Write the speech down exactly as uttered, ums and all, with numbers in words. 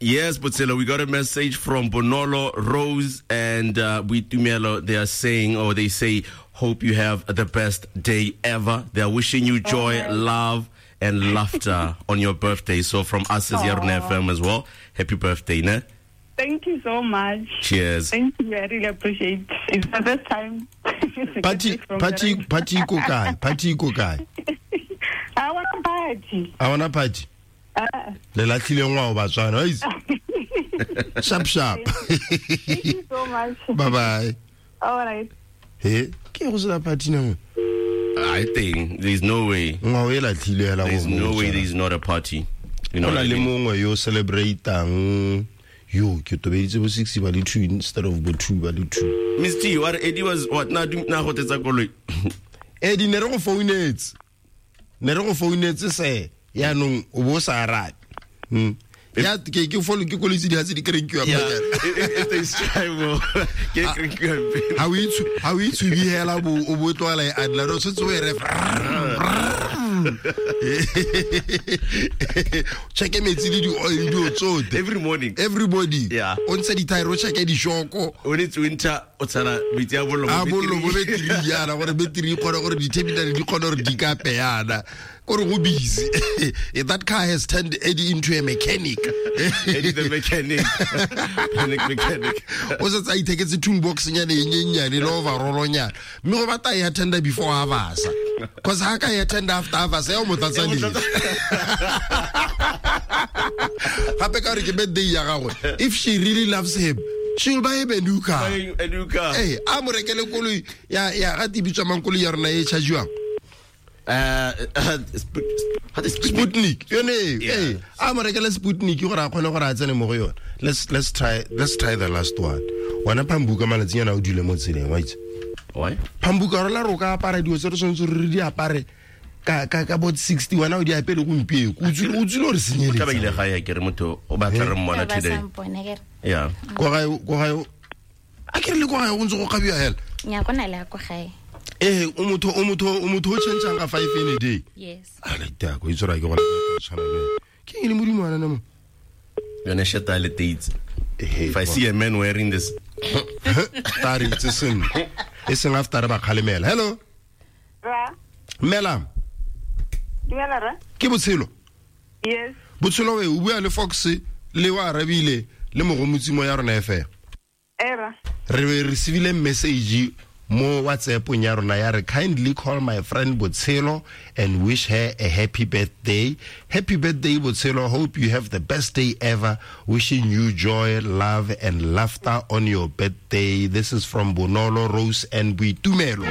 Yes, Botshelo, we got a message from Bonolo, Rose, and uh, Boitumelo. They are saying, or they say, hope you have the best day ever. They are wishing you joy, oh, love, and laughter on your birthday. So from us as Yarona F M as well, happy birthday, ne? Thank you so much. Cheers. Thank you. I really appreciate it. It's the first time. Party, party, party, ko kae? Party ko kae? I want a party. I want a party. Uh, Le latlhile ngwao Batswana. Sharp, sharp. Thank you so much. Bye bye. All right. Hey, ke go sena party na? I think there's no way. Ngwao e latlhile hela. There's no way there's not a party. You know. Go na le mongwe yo celebrateang. Yo, ke tobeditse bo six ba le two instead of bo two ba le two. Miss T, what Eddie was what na na go tetsa koloi. Eddie ne re go founetse. Ne re go founetse se. Ya nong o bo sa arabe. Hmm. Ya ke ke follow ke koloi tse di ha tse di krenkiwa pele. If they strive ke krenkiwa pele. Ha o itse ha o itse bi hela bo o bo tlwala e adla ro tshwetse o e re. Check metsi le di oil di tsote every morning. Everybody. Yeah. O ntse di tire o check di shoko. When it's winter o tsana metsi a bollo a bollo bo betri yana gore betri e kgone gore di terminal di kgone gore di kape yana. Gore go busy. That car has turned Eddie into a mechanic. Eddie the mechanic. Panic mechanic. O se tsa itheketse toolbox nyane e nyenyane le overall nyana. Mme go batla e attenda before harvest. Cause ha ka e attenda after harvest ya o motlatsa le. Gape ka re ke birthday ya gagwe. If she really loves him, she will buy him a new car. A new car. Eh, a mo rekele koloi ya ya ga tibitswa mang koloi ya rona e charge-iwang. Uh, uh, Sputnik. Yone, eh, a mo rekele Sputnik gore a kgone gore a tsene mo go yone. Let's let's try let's try the last one. Wena Pambuka malatsi yana o dule mo tseleng, wa itse. Why? Pambuka re la roka apara dilo tse re tshwanetse re di apare ka ka ka bot sixty wena o di apere gompieno. O tsile o tsile re senyeletse. Ka ba ile ga ya ke re motho o batla re mmona today. Yeah. Ko gae ko gae. A ke re le ko gae go ntse go gabiwa hela. Nya go na le ko gae. Eh, o motho o motho o motho o change ka five in a day. Yes. A le ta go itse ra ke go le tshwana le. Ke eng le modimo ana mo? Yone sheta le dates. If I see a man wearing this tari tse seng. E seng after ba khalemela. Hello. Ra. Mela. Dumela ra. Ke Botshelo. Yes. Botshelo we o bua le Fox le wa arabile le mogomotsi mo ya rona F M. Era. Re receivile message mo WhatsApp ya rona ya re kindly call my friend Botshelo and wish her a happy birthday. Happy birthday Botshelo, hope you have the best day ever. Wishing you joy, love and laughter on your birthday. This is from Bonolo, Rose and Boitumelo.